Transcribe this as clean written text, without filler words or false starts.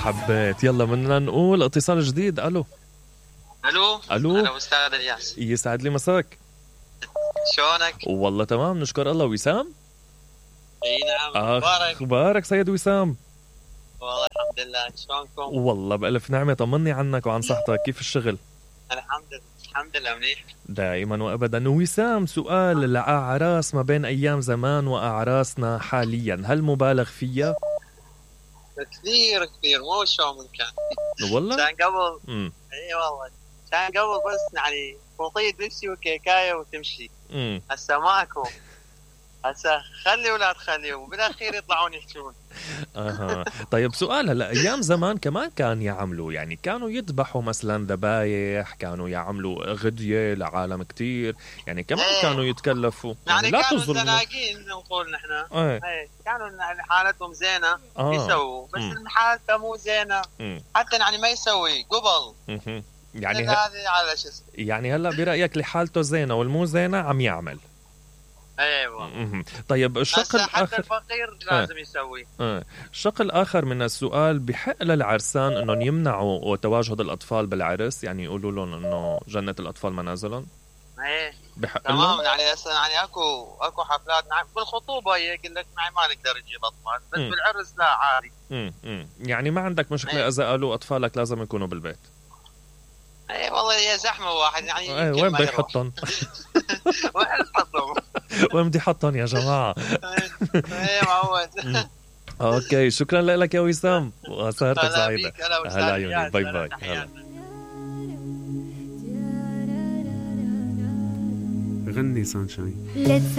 حبيت. يلا بدنا نقول اتصال جديد. الو الو الو، انا استاذ الياس. يسعد لي مساك. شلونك؟ والله تمام نشكر الله. وسام، اي نعم. اخبارك؟ اخبارك سيد وسام؟ والله الحمد لله. شلونكم؟ والله بألف نعمة. طمني عنك وعن صحتك، كيف الشغل؟ الحمد لله منيح دائما وابدا. وسام، سؤال لأعراس ما بين ايام زمان واعراسنا حاليا، هل مبالغ فيها؟ كثير مو شو من كان. والله كان قبل. اي والله كان قبل بس يعني خطيط دبسي وكيكايه وتمشي. هسه ماكو. هسه خلي ولا تخلي وبالاخير يطلعون يحكون. طيب سؤال، هلا ايام زمان كمان كان يعملوا، يعني كانوا يذبحوا مثلا ذبايح، كانوا يعملوا غديه لعالم كتير، يعني كمان كانوا يتكلفوا، يعني لا كانوا تظلموا. زناقين نقول نحن. كانوا حالتهم زينه يسووا، بس حالته مو زينه حتى يعني ما يسوي قبل. يعني هذه على شو اسمه، يعني هلا برايك اللي حالته زينه والمو زينه عم يعمل. ايوه. طيب الشق الاخر، حتى الفقير لازم يسوي. الشق الاخر من السؤال، بحق للعرسان انهم يمنعوا تواجد الاطفال بالعرس، يعني يقولوا لهم انه جنة الاطفال منازلهم؟ بحق تمام لهم؟ يعني هسه يعني اكو حفلات بالخطوبه يقول لك ما نقدر نجيب اطفال، بس بالعرس لا عادي. يعني ما عندك مشكله اذا قالوا اطفالك لازم يكونوا بالبيت؟ والله هي زحمه واحد يعني. وين بده يحطهم؟ وين تحطهم؟ وين بدي احطهم يا جماعه؟ معود. اوكي، شكرا لك يا وسام وسهرتك سعيده. هلا عيوني، باي باي. هلا. غني سانشاين.